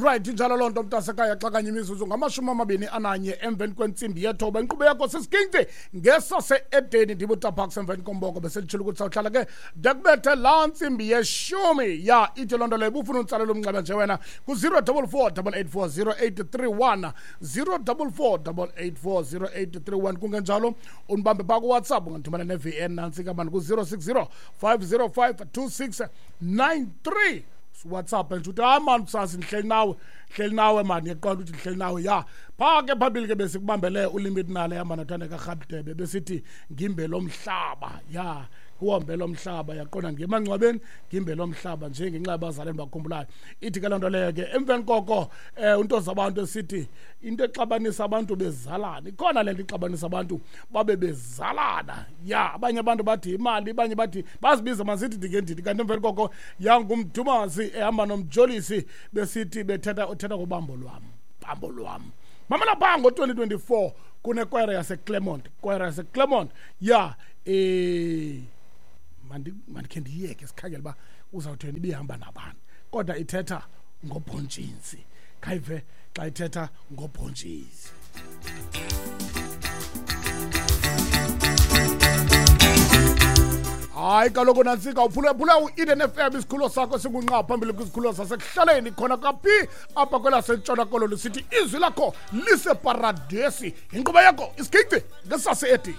Right, injalo loo nto, mntasekhaya. Xa kanye imizuzu ngama-21 emveni kwentsimbi yethoba, inkqubo yakho sisiginci ngesase-Edeni. Ndibutaphaks emveni komboko beselitshilo ukuthi sawuhlala ke ndekubethe laa ntsimbi yeshumi. Ya, ithi loo nto leyo bufuna untsalela umnxeba nje wena ku-044 884 0831, 044 884 0831. Kungenjalo undibambe phaa kuWhatsApp, ungandithumela ne-VN nantsi kamani ku-060 505 2693. WhatsApp nje uthi, "Hayi mani, kusasa ndihleli nawe, hleli nawe mani." Yaqonda ukuthi ndihleli nawe. Ya, phaa ke phambili ke besikubambele uLimit Nale hamba noThandeka Rhabdebe, besithi ngimbe lo mhlaba. Ya, kuhombe lo mhlaba, yaqonda, ngemangcwabeni ngimbe lo mhlaba nje ngenxa yabazali endibakhumbulayo. Ithi ke loo nto leyo ke emveni koko unto zabantu esithi into exabanisa abantu bezalana ikhona le nto ixabanisa abantu babe bezalana. Ya, abanye abantu bathi imali, abanye bathi bazibiza masithi ndingendidi. Kanti emveni koko yangumdumazi ehamba nomjolisi, besithi bethetha uthetha ngobambo lwam, bambo lwam. Mamela phaa ngo-2024 kunekwayara yaseClermont, kwayara yaseClermont. Ya, mandikhe ndiyeke sikhangele uba uzawutheni, ibihamba nabani, kodwa ithetha ngobhontshisi. Khayive xa ithetha ngobhontshisi. Hayi kaloku nantsika, uphulaphula u-Eden FM, isikhululo sakho singunqa phambili kwizikhululo zasekuhlaleni khona kaphi apha kwelasentshona Koloni. Sithi izwi lakho liseparadesi, inkqubo yakho isiginci ngesase-Edeni.